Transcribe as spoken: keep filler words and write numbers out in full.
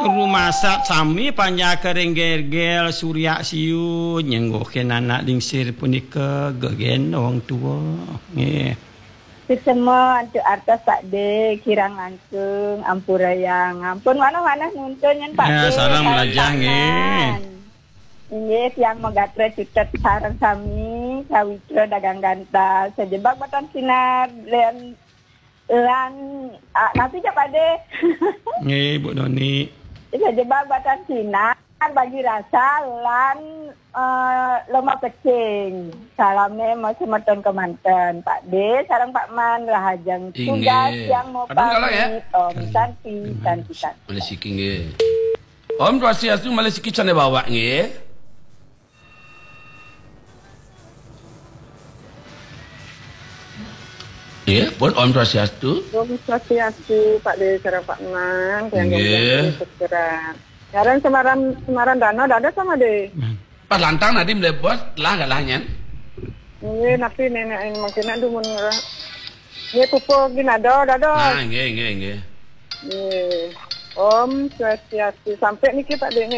Rumasak sami panjaka ring gergel surya siu nyengguhkin anak lingsir punika gegendong tua. Nggih. Sesema antuk artos Pak De, kirang langkung, ampurayang. Ampun manah-manah nuntun nyen Pak Ya, De, sareng sareng melajah, nggih. Pak Man. Inggih, tiang magatra cutet sareng sami, sawitra dagang gantal, sajebag batan sinar, lan, lan, ah, napi ja Pak De? Nggih, Bu Doni. Sajebag batan sinar, bagi rasa, lan, eh, lomba pecing. Salame masi semeton kemanten, Pak De, sareng Pak Man, rahajeng tugas. Inggih. Tiang mau Aduh, kalah, ya? Pamit. Om Santi, Santi, Santi. Malih siki, nggih. Om Swastiastu, malih siki canda bawak, nggih. Nggih, pun Om Swastiastu. Om Swastiastu, Pak De sareng Pak Man, tiang Nggih. Gembong Putra. Ngaran Semaran, Semaran Dano, dados sama De. Pas lantang nadi mlebos, lah galah nyen. Nggih, napi nenek ini mungkin nak dumun ngerah. Nggih, pupuk ginado, dados. Ah, nggih, nggih, nggih. Nggih. Om Swastiastu. Sampai niki Pak De, nggih.